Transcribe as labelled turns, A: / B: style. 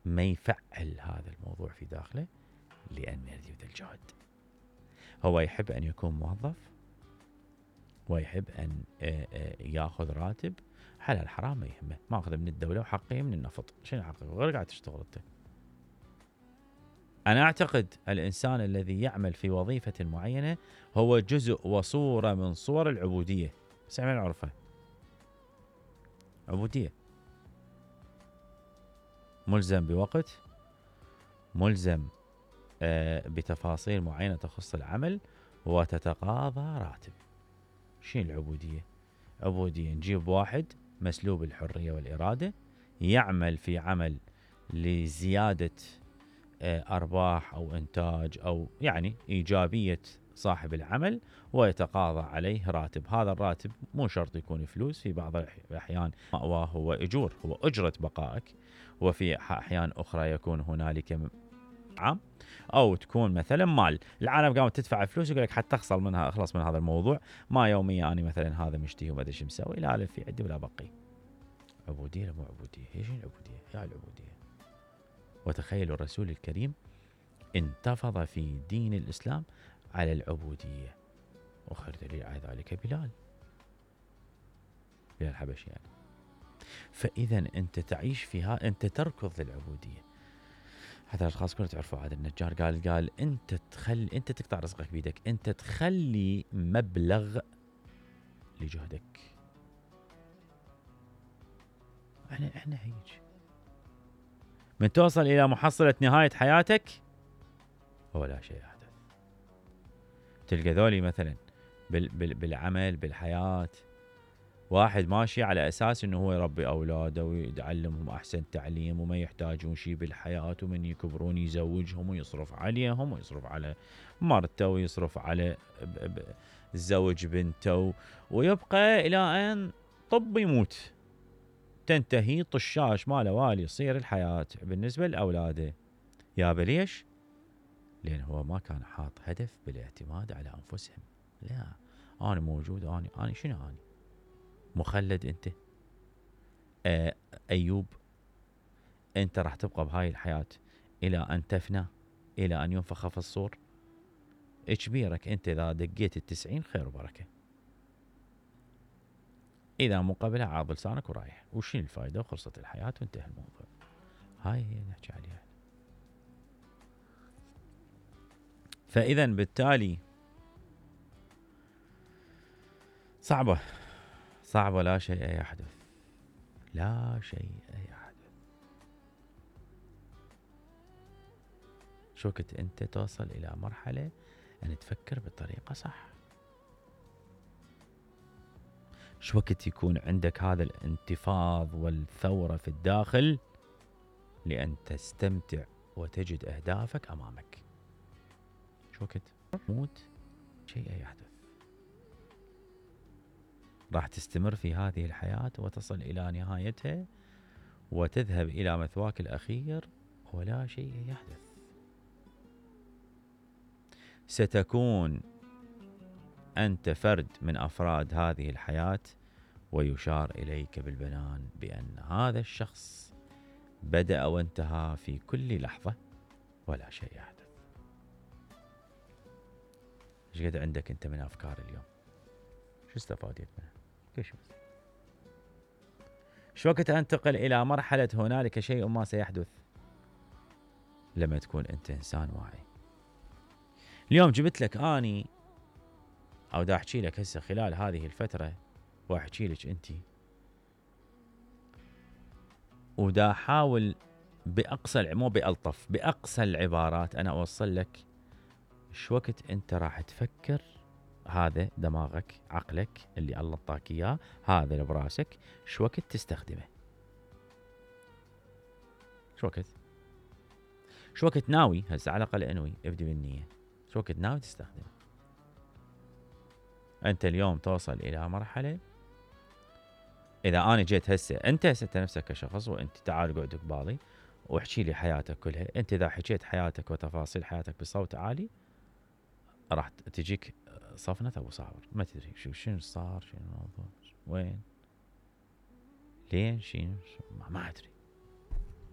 A: ما يفعل هذا الموضوع في داخله لأن يريد الجهد. هو يحب أن يكون موظف ويحب أن يأخذ راتب حلال حرام ما يهمه، ماخذ من الدولة وحقه من النفط. شنو حقه؟ غير قاعد تشتغل انت. أنا أعتقد الإنسان الذي يعمل في وظيفة معينة هو جزء وصورة من صور العبودية، بس احنا نعرفها عبودية. ملزم بوقت، ملزم بتفاصيل معينة تخص العمل، وتتقاضى راتب. شنو العبودية؟ عبودية نجيب واحد مسلوب الحرية والإرادة يعمل في عمل لزيادة أرباح أو إنتاج أو يعني إيجابية صاحب العمل، ويتقاضى عليه راتب. هذا الراتب مو شرط يكون فلوس، في بعض الأحيان مأواه هو أجور، هو أجرة بقائك، وفي أحيان أخرى يكون هنالك عام أو تكون مثلا مال. العالم قامت تدفع فلوس يقول لك حتى أخلص من هذا الموضوع، ما يوميا أنا مثلا هذا مشتهي وما أدري شو مسوي، لا ألف في عندي ولا بقي. عبودية لا مو عبودية؟ هي شنو العبودية؟ هي العبودية. وتخيلوا الرسول الكريم انتفض في دين الإسلام على العبودية، وخير دليل على ذلك بلال الحبشي يعني. فإذا أنت تعيش فيها، أنت تركض للعبودية. حتى الأشخاص كلهم تعرفوا هذا النجار قال أنت تقطع رزقك بيدك، أنت تخلي مبلغ لجهدك. احنا هيك من توصل إلى محصلة نهاية حياتك ولا شيء يحدث. تلقى ذولي مثلا بالعمل بالحياة، واحد ماشي على أساس أنه هو يربي أولاده ويعلمهم أحسن تعليم وما يحتاجون شيء بالحياة، ومن يكبرون يزوجهم ويصرف عليهم ويصرف على مرته ويصرف على الزوج بنته، ويبقى إلى أن طب يموت، تنتهي طشاش ما له والي يصير الحياة بالنسبة لأولاده. يا ليش؟ لأن هو ما كان حاط هدف بالاعتماد على أنفسهم. لا، أنا موجود، أنا شنو أنا؟ مخلد أنت. أيوب أنت راح تبقى بهاي الحياة إلى أن تفنى، إلى أن ينفخ في الصور. إجبيرك أنت إذا دقيت 90 خير وبركة، إذا مقابلها عاض لسانك ورايح، وشين الفائدة؟ وخلصت الحياة وانتهى الموضوع. هاي هي نحكي عليها. فإذا بالتالي صعبة لا شيء يحدث، لا شيء يحدث. شو وقت أنت توصل إلى مرحلة أن تفكر بطريقة صح، شو وقت يكون عندك هذا الانتفاض والثورة في الداخل لأن تستمتع وتجد أهدافك أمامك. شو وقت موت شيء يحدث، راح تستمر في هذه الحياة وتصل إلى نهايتها وتذهب إلى مثواك الأخير ولا شيء يحدث. ستكون أنت فرد من أفراد هذه الحياة، ويشار إليك بالبنان بأن هذا الشخص بدأ وانتهى في كل لحظة ولا شيء يحدث. ايش قد عندك أنت من أفكار اليوم؟ شو استفادت منها؟ شو وقت أنتقل إلى مرحلة هنالك شيء ما سيحدث؟ لما تكون أنت إنسان واعي. اليوم جبت لك أني أو دا أحكي لك هسه خلال هذه الفترة، وأحكي لك أنت، ودا أحاول بأقصى مو بألطف، بأقصى العبارات أنا أوصل لك شو وقت أنت راح تفكر. هذا دماغك عقلك اللي الله طاك إياه، هذا اللي براسك، شو وقت تستخدمه؟ شو وقت ناوي هسه على الأقل انوي، ابدي بالنية، شو وقت ناوي تستخدمه؟ أنت اليوم توصل إلى مرحلة، إذا أنا جيت هسه أنت نفسك كشخص، وأنت تعال قعد قبالي واحكي لي حياتك كلها. أنت إذا حكيت حياتك وتفاصيل حياتك بصوت عالي راح تجيك صفنة أبو صابر، ما تدري شنو صار، شنو الموضوع، وين، لين، شنو، ما أدري.